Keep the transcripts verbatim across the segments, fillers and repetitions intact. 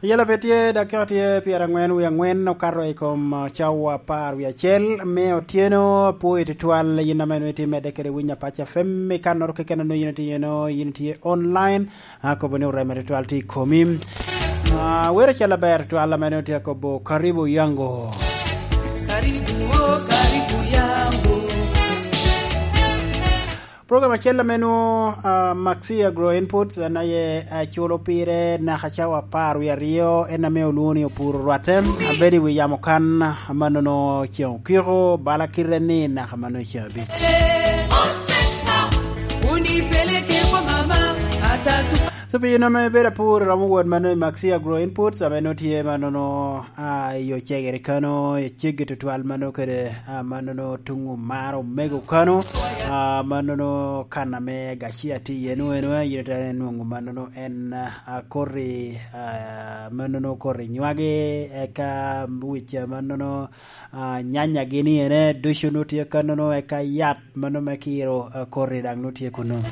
Yela pe tye, dakika tye pyerangwen wie angwen okato i kom, uh, cawa apar wie acel me otyeno. Apwoyo tutwal yin ame nongo itye medde kede winyo Apac F M i kannoro keken onongo yin itye eno, yin itye online. Akobo ni oreme tutwal tye i komi. Ah, wero acel aber tutwal ame nongo tye akobo, "Karibu yangu." Karibu, oh, karibu yangu. Program acel ame nwo, ah, Maxi Agro Inputs, en aye, ah, culo pire naka cawa apar wie aryo, en ame olwoŋo ni opuro rwatte. Abedo i wi yamo kan, amannono ceŋ okiko, bala kite ni naka mano ceŋ abic. So, pi in ame ibedo apur, iromo wot mano i Maxi Agro Inputs, ame nwo tye mannono, ah, i Ocegere kano, i ceggi tutwal mano kede, ah, mannono tuŋ omaro omego kano, ah, mannono kan ame gacia tye iye nwo eno, yin itera inwoŋo mannono en, ah, koti, ah, mannono koti nywagi, eka wic, ah, mannono, ah, nyanya gini ene, ducu nwo tye kanono, eka yat mano me kiro, ah, koti daŋ nwo tye kunu.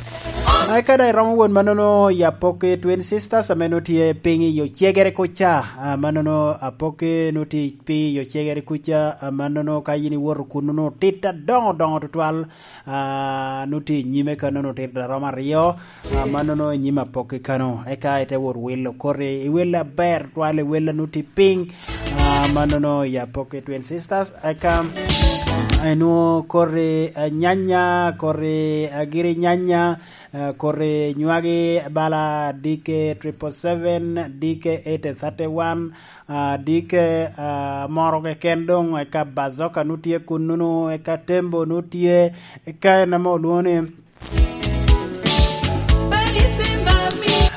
Ah, eka daŋ iromo wot mannono i Apoki Twin Sisters, ame nwo tye piny i Ocegere kuca, ah, mannono Apoki nwo tye piny i Ocegere kuca, ah, mannono ka yin iwoto kunu nwo tit adoŋo doŋo tutwal, ah, nwo tye i nyime kanono tit aromo aryo, ah, mannono i nyim Apoki kano. Eka ite wot wilo koti, iwille aber twal, iwille nwo tye piny, ah, mannono i Apoki Twin Sisters. Eka, ah, inwo koti, ah, nyanya, koti, ah, giri nyanya, ah, koti nywagi bala D K triple seven, D K eighty thirty-one, ah, D K, ah, moro keken doŋ, eka Bazoka nwo tye kununu, eka Tembo nwo tye, eka en ame olwoŋo ni,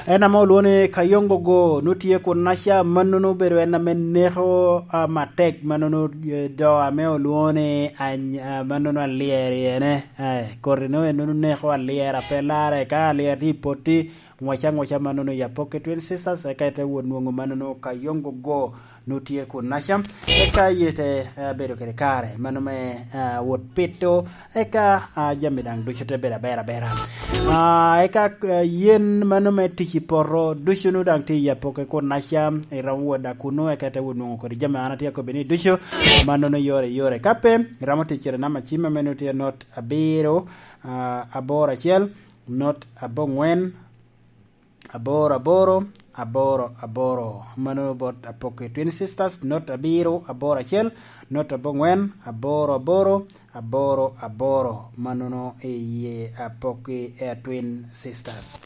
en ame olwoŋo ni Kayongogo nwo tye kunnaca, mannono obedo en ame neko, ah, matek, mannono, eh, do ame olwoŋo ni any-, ah, mannono alyeri ene, eh, koti nwo en nwo neko alyera pe larre, ka alyera tye i potti, ngwaca ngwaca mannono i Apoki Twin Sisters, eka ite wot nwoŋo mannono Kayongogo nwo tye kunnaca. Eka yin ite, eh, bedo kede kare mano me, eh, wot pito, eka, ah, jami daŋ ducu te bedo aber abera. Ah, eka, eh, yen mano me tic i poto ducu nwo daŋ tye i Apoki kunnaca, iromo wot daŋ kunu, eka ite wot nwoŋo kodi jami an atye akobbi ni ducu, mannono yore yore. Ka pe, iromo tic kede namba cim ame nwo tye not abiro, ah, aboro acel, not abongwen, aboro aboro, aboro aboro. Mano bot Apoki Twin Sisters, not abiro, aboro acel, not abongwen, aboro aboro, aboro aboro. Manono i ye Apoki, eh, Twin Sisters.